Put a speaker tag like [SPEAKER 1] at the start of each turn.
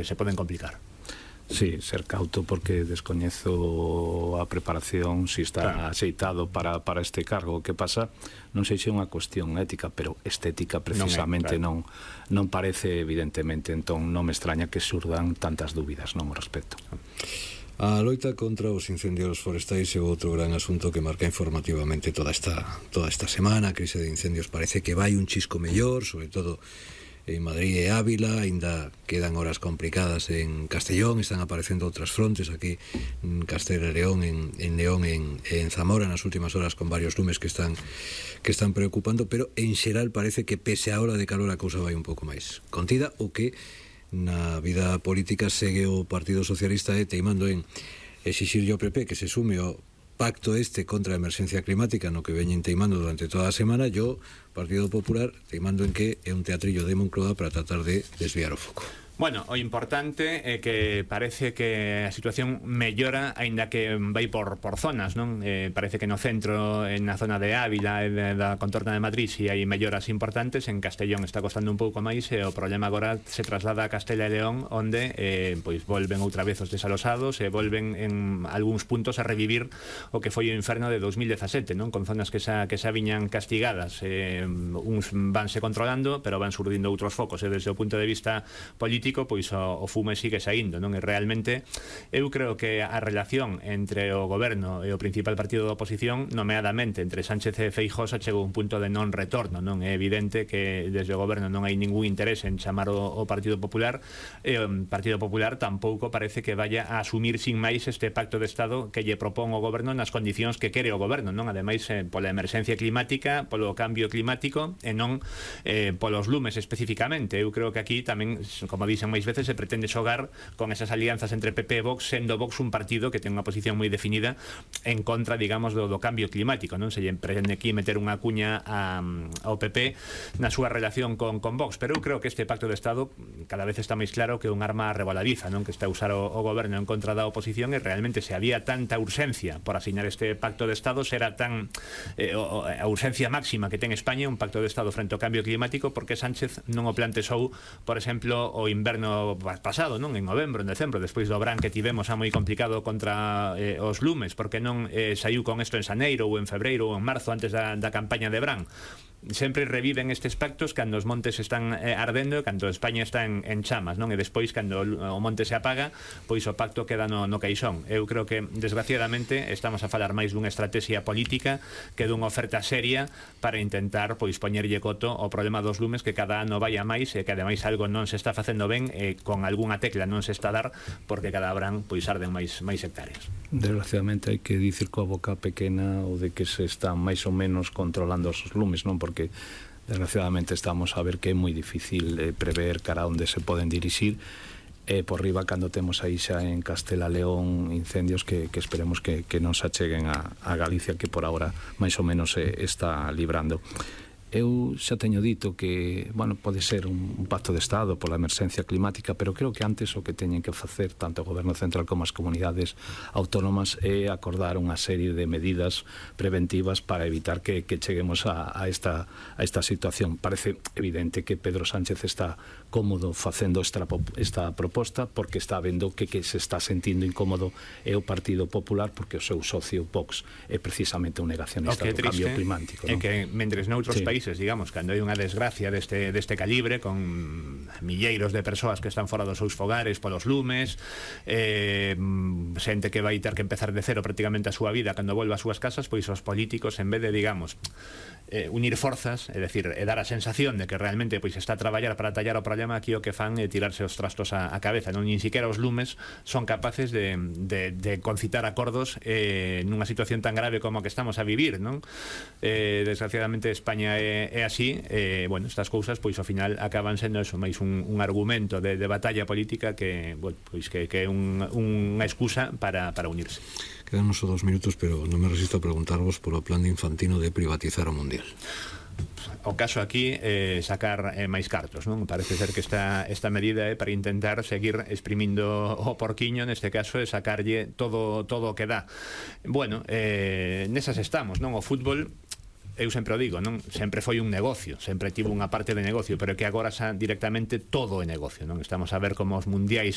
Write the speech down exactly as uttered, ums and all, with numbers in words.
[SPEAKER 1] se poden complicar.
[SPEAKER 2] Sí, ser cauto porque descoñezo a preparación si está claro. Axeitado para, para este cargo. O que pasa, non sei se é unha cuestión ética, pero estética precisamente non, é, claro. non, non parece evidentemente, entón non me extraña que surdan tantas dúbidas non ao respecto.
[SPEAKER 3] A loita contra os incendios forestais é outro gran asunto que marca informativamente toda esta, toda esta semana. A crise de incendios parece que vai un chisco mellor, sobre todo en Madrid e Ávila. Ainda quedan horas complicadas en Castellón, están aparecendo outras frontes aquí en Castela e León, en, en León, en, en Zamora nas últimas horas, con varios lumes que están que están preocupando, pero en xeral parece que pese a hora de calor a cousa vai un pouco máis contida. O que na vida política segue o Partido Socialista e teimando en exixirlle ao P P que se sume ao pacto este contra a emerxencia climática no que veñen teimando durante toda a semana. Yo, Partido Popular, teimando en que é un teatrillo de Moncloa para tratar de desviar o foco.
[SPEAKER 1] Bueno, o importante é que parece que a situación mellora, aínda que vai por, por zonas, non? Eh, parece que no centro, en na zona de Ávila e da contorna de Madrid, si hai melloras importantes. En Castellón está costando un pouco máis e o problema agora se traslada a Castela e León, onde eh, pois volven outra vez os desalosados e volven en algúns puntos a revivir o que foi o inferno de dos mil dezasete, non? Con zonas que xa, que xa viñan castigadas, eh, uns vanse controlando, pero van surdindo outros focos, e desde o punto de vista político pois o, o fume sigue saindo, non? E realmente eu creo que a relación entre o goberno e o principal partido da oposición, nomeadamente entre Sánchez e Feijóo, chegou a un punto de non retorno, non? É evidente que desde o goberno non hai ningún interés en chamar o, o Partido Popular, e o Partido Popular tampouco parece que vaya a asumir sin máis este pacto de Estado que lle propón o goberno nas condicións que quere o goberno, non? Ademais, eh, pola emerxencia climática, polo cambio climático e non eh, polos lumes especificamente. Eu creo que aquí tamén, como dixen máis veces, se pretende xogar con esas alianzas entre P P e Vox, sendo Vox un partido que ten unha posición moi definida en contra, digamos, do, do cambio climático, non? Se lle pretende aquí meter unha cuña a, ao P P na súa relación con, con Vox, pero eu creo que este pacto de Estado cada vez está máis claro que é un arma revoladiza, non? Que está a usar o, o goberno en contra da oposición, e realmente se había tanta urxencia por asinar este pacto de Estado, será tan eh, o, a urxencia máxima que ten España un pacto de Estado frente ao cambio climático, porque Sánchez non o plantexou, por exemplo, o inverno pasado, non? En novembro, en decembro, despois do verán que tivemos a moi complicado contra eh, os lumes, porque non eh, saiu con isto en xaneiro ou en febreiro ou en marzo, antes da, da campaña de verán. Sempre reviven estes pactos cando os montes están eh, ardendo, cando España está en, en chamas, non? E despois, cando o monte se apaga, pois o pacto queda no, no caixón. Eu creo que, desgraciadamente, estamos a falar máis dunha estrategia política que dunha oferta seria para intentar, pois, poñerlle coto ao problema dos lumes, que cada ano vai a máis, e que ademais algo non se está facendo ben, e con algunha tecla non se está a dar, porque cada verán, pois, arden máis, máis hectáreas.
[SPEAKER 2] Desgraciadamente hai que dicir coa boca pequena o de que se están máis ou menos controlando os lumes, non? Porque desgraciadamente estamos a ver que é moi difícil eh, prever cara onde se poden dirixir, e eh, por riba cando temos aí xa en Castela León incendios que, que esperemos que, que non se acheguen a, a Galicia, que por agora máis ou menos se está librando. Eu xa teño dito que, bueno, pode ser un, un pacto de Estado pola emerxencia climática, pero creo que antes o que teñen que facer tanto o Goberno Central como as comunidades autónomas é acordar unha serie de medidas preventivas para evitar que, que cheguemos a, a, esta, a esta situación. Parece evidente que Pedro Sánchez está cómodo facendo esta, esta proposta, porque está vendo que, que se está sentindo incómodo é o Partido Popular, porque o seu socio Vox é precisamente un negacionista do cambio climático,
[SPEAKER 1] é que mentres noutros sí. países, digamos, cando hai unha desgracia deste, deste calibre, con milleiros de persoas que están fora dos seus fogares polos lumes, eh, xente que vai ter que empezar de cero prácticamente a súa vida cando volva ás súas casas, pois os políticos, en vez de, digamos, eh, unir forzas, é dicir, e dar a sensación de que realmente pois está a traballar para tallar o problema, aquí o que fan é tirarse os trastos a, a cabeza, non? Nin siquiera os lumes son capaces de, de, de concitar acordos eh, nunha situación tan grave como a que estamos a vivir, non? Eh, desgraciadamente España é, é así, eh, bueno, estas cousas pois ao final acaban sendo eso, máis un, un argumento de, de batalla política que, bueno, pois que, que é un, unha excusa para, para unirse.
[SPEAKER 3] Quedan só dos minutos, pero non me resisto a preguntarvos polo plan de Infantino de privatizar o Mundial.
[SPEAKER 1] O caso aquí é eh, sacar eh, máis cartos, non? Parece ser que esta, esta medida é para intentar seguir exprimindo o porquiño, neste caso é sacarlle todo, todo o que dá. Bueno, eh, nesas estamos, non? O fútbol, eu sempre o digo, non? Sempre foi un negocio, sempre tivo unha parte de negocio, pero que agora xa directamente todo é negocio, non? Estamos a ver como os mundiais